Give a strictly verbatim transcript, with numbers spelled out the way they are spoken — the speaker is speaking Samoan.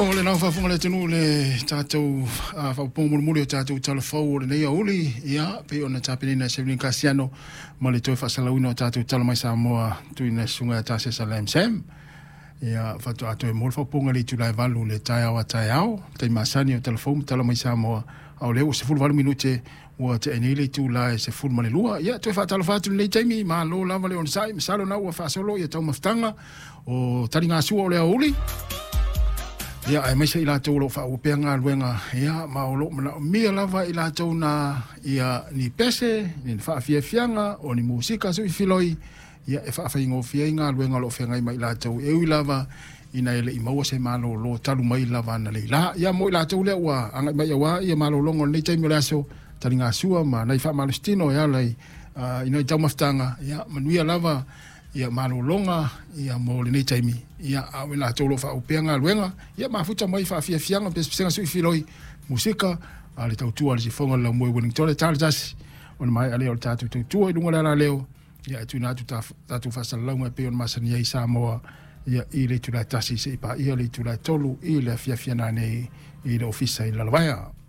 O le lau faafofoga le atunuu le tatou faaopoopoga mulimuli o tatou tala fou o lenei aoauli, ia pei ona tapenaina e Sevelin Kasiano ma le toe faasalalauina o tatou tala mai Samoa tuuina e susuga ia Tasesa Lam Sam. Ia faatoa toe maua le faaopoopoga i le itula e valu le taeao a taeao, taimi masani o tala fou ma tala mai Samoa, a o lea ua sefuluvalu minute ua tea nei le itula e sefulu ma le lua. Ia toe faatalofa atu i lenei taimi, malo lava le onosai, masalo na ua faasolo ia taumafataga o taligasua o le aoauli. Ia aemaise i latou o lo o faaauau pea galuega, ia ma o lo o manaomia lava i latou na ia ni pese, ni faafiafiaga, o ni musika suifiloi, ia e faafaigofie ai galuega o lo o feagai ma i latou, e ui lava ina e le i maua se malolo talu mai lava analeila. Ia mo i latou lea ua agai mai aua ia malologa o lenei taimi o le aso, taligasua ma nai faamalositino e ala i uh, i nai taumafataga, ia manuia lava ia malologa ia mo lenei taimi, ia a o i latou o lo o faaauau pea galuega, ia mafuta mai faafiafiaga, pesepesega suifiloi, musika, a le tautua a le sifoga o le laumua i Wellington le tala tasi, ona maea lea o le tatou tautua i luga o le alaleo, ia e tuuina atu tatou faasalalauga e pei ona masani ai Samoa, ia i le itula e tasi seia paia le itula e tolu i le afiafi nanei i le ofisa i Lalovaea.